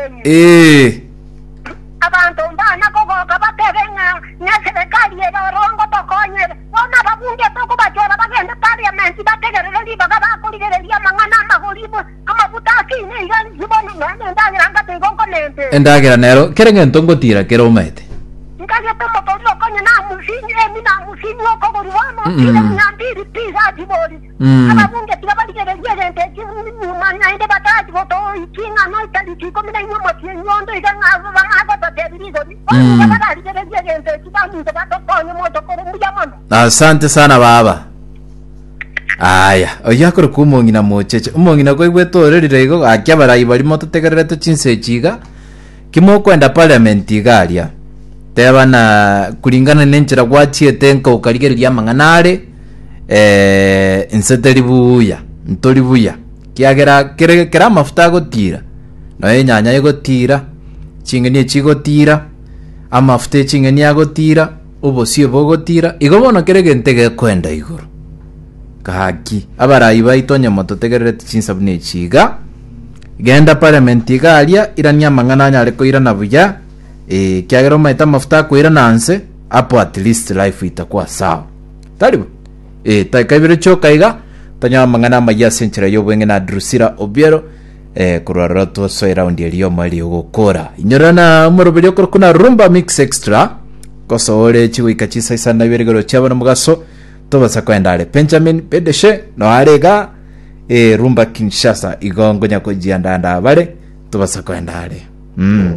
Omotienyi. Ee. Abanto mbana kogoka batebe ng'a neserekari ere orongo tokonyere. Bono ababunge tokobachora bagende parliament bategerere ribaga bakorigereria amang'ana amagori amabuta akine iga inche bono nonya nendagera ngate igo nkomente. Endagera nero kera egento ngotira kere omaete. Nkagete omotoriro okonye na amusini emi na amusini okogori bono otire mia mbiri pi gati bori. Ababunge tiga barigererie egento eki nyuma naende batachi gotoikia ing'ana etariki ikomi na inwe omotienyi onde iga ng'a bagototebia rigori. Bono iga bararigererie egento eki baminto batokonye mochokoro mbuya mono. Asante sana baba. Aya, oyio akorokwa omong'ina mocheche. Omong'ina kwaigwete orerire igo gaki abarai baria mototegererete chinsa echi iga, ki mokoenda parliament iga aria. Teba na kulingana na enchera gwachiete nka okarigereria amang'ana are, eh, inse teri buya, ntori buya. Kiagera kere kera amafuta agotira, nonya enyanya egotira, ching'eni echigotira, amafuta eching'eni agotira, obosie bogotira, igo bono kera egento egekoenda igoro. Gaki, abarai baito onye mototegerereti chinsa buna echi iga, genda parliament iga aria, irania amang'ana anyare koirana buya, eh, ekiagera omanyete amafuta akoirana nse, hapo at least life itakuwa sawa. Tari bo? Eh, taika ibere chioka iga, tonyore amang'ana amayia ase enchera y'obweng'e na Drusilla Obiero, eh, korwa roro tosoe round eria y'omoerio ogokora. Inyora na omoroberi okorokwa na Rumba Mix Extra, kosoore chigoika chinsa isano na ibere igoro chiabo na omogaso, tobasa koenda are. Benjamin Bedeshe, no are iga, eh, Rumba Kinshasa, igo nkonya kojianda anda abare, tobasa koenda are. Mm.